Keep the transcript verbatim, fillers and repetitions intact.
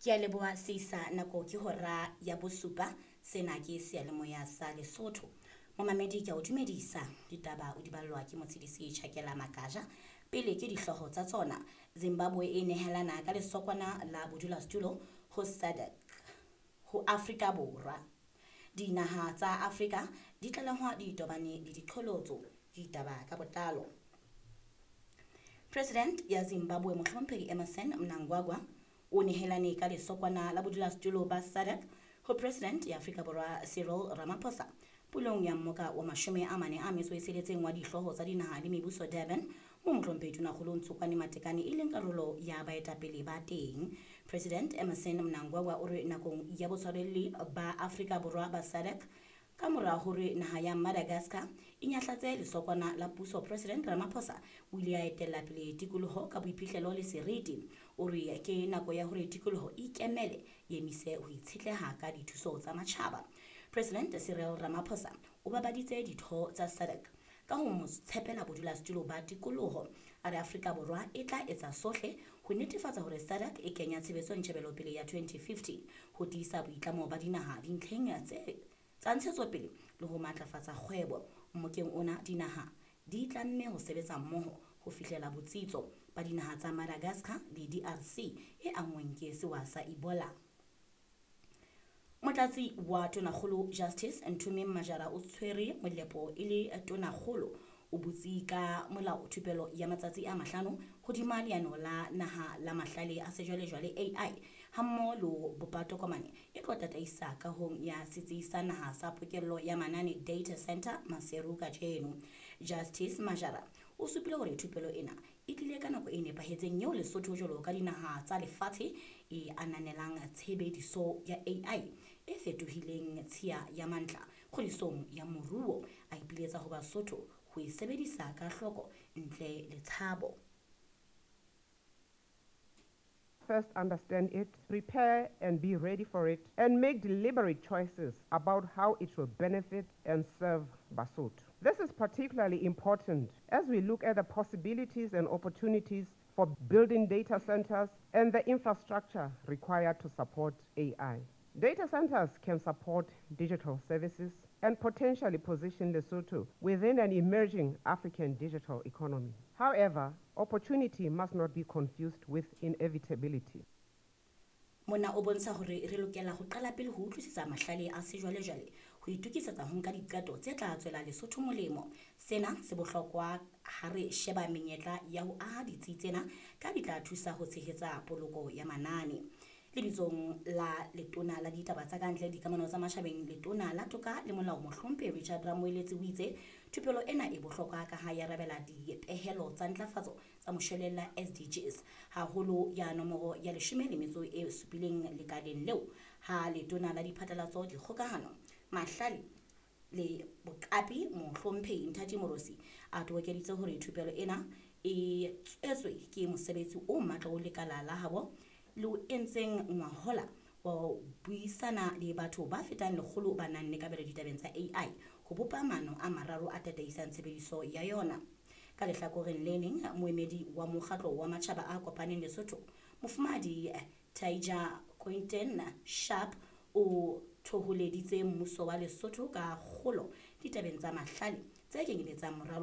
Ke a leboha Seisa, nako ke hora ya bosupa. Sena ke seyalemoya sa Lesotho. Momamedi, ke a o dumedisa. Ditaba o di ballwa ke Motshedisi Tjhakela Makaja. Pele ke dihlooho tsa tsona. Zimbabwe e nehelana ka lesokwana la bodulasetulo ho SADC ho Afrika Borwa. Dinaha tsa Afrika di tlalehwa di tobane le diqholotso. Ditaba ka botlalo. President ya Zimbabwe Mohlomphehi Emmerson Mnangagwa o nehelane ka lesokwana la bodulasetulo ba SADC ho President ya Afrika Borwa Cyril Ramaphosa pulong ya mmoka wa mashome a mane a metso e tsheletseng wa dihlooho tsa dinaha le mebuso Durban, mo Mohlomphehi Tonakgolo Ntsokoane Matekane e leng karolo ya baetapele ba teng. President Emmerson Mnangagwa o re nakong ya botshwarelli ba Afrika Borwa ba SADC, ka mora hore naha ya Madagascar e nyahlatse lesokwana la puso, President Ramaphosa o ile a etella pele tikoloho ka boiphihlelo le seriti. O re ke nako ya hore tikoloho e ikemele, e emise ho itshetleha ka dithuso tsa matjhaba. President Cyril Ramaphosa o babaditse ditho tsa SADC ka ho mo tshepela bodulasetulo ba tikoloho. A re Afrika Borwa e tla etsa sohle ho netefatsa hore SADC e kenya tshebetsong tjhebelopele ya twenty fifty ho tiisa boitlamo ba dinaha dintlheng tse tsa ntshetsopele le ho matlafatsa kgwebo. Mmokeng ona dinaha di tlamme ho sebetsa mmoho ho fihlela botsitso ba dinaha tsa Madagascar le D R C e anngweng ke sewa sa Ebola. Motlatsi wa Tonakgolo Justice Nthumeng Majara o tshwere molepo e le Tonakgolo. O butse ka molao thupelo ya matsatsi a mahlano hodima leano la naha la mahlale a sejwalejwale A I hammoho le ho bopa tokomane e tlo tataisa kahong ya setsi sa naha sa pokello ya manane Data Center Maseru kajeno. Justice Majara o supile hore thupelo ena e tlile ka nako e nepahetseng eo Lesotho jwalo ka dinaha tsa lefatshe e ananelang tshebediso ya A I e fetohileng tshiya ya mantla kgodisong ya moruo. A ipiletsa ho Basotho ho e sebedisa ka hloko ntle le tshabo. First understand it, prepare and be ready for it, and make deliberate choices about how it will benefit and serve Basotho. This is particularly important as we look at the possibilities and opportunities for building data centers and the infrastructure required to support A I. Data centers can support digital services and potentially position Lesotho within an emerging African digital economy. However, opportunity must not be confused with inevitability. Mona o bontsha hore re lokela ho qala pele ho utlwisisa mahlale a sejwalejwale ho itokisetsa ho nka diqeto tse tla tswela Lesotho molemo. Sena se bohlokwa ha re sheba menyetla ya ho aha ditsi tsena ka di tla thusa ho tshehetsa poloko ya manane. Lebitsong la letona la ditaba tsa kantle dikamano tsa matjhabeng, letona la toka le molao Mohlomphehi Richard Ramoeletsi o itse thupelo ena e bohlokwa ka ha ya arabela dipehelo tsa ntlafatso tsa moshwelella S D Gs, haholo ya nomoro ya leshome le metso e supileng lekaleng leo ha letona la diphatlalatso, dikgokahano, mahlale le boqapi Mohlomphehi Nthati Moorosi a tobokeditse hore thupelo ena e tswetswe ke mosebetsi o matla o lekala la habo le o entseng ngwahola wa ho buisana le batho ba fetang lekgolo ba nang le kabelo ditabeng tsa A I ho bopa maano a mararo a tataisang tshebediso ya yona. Ka lehlakoreng le leng, moemedi wa mokgatlo wa matjhaba a kopaneng Lesotho, Mofumahadi Taija Quinton Sharp o thoholeditse mmuso wa Lesotho ka kgolo ditabeng tsa mahlale tse kenyeletsang moralo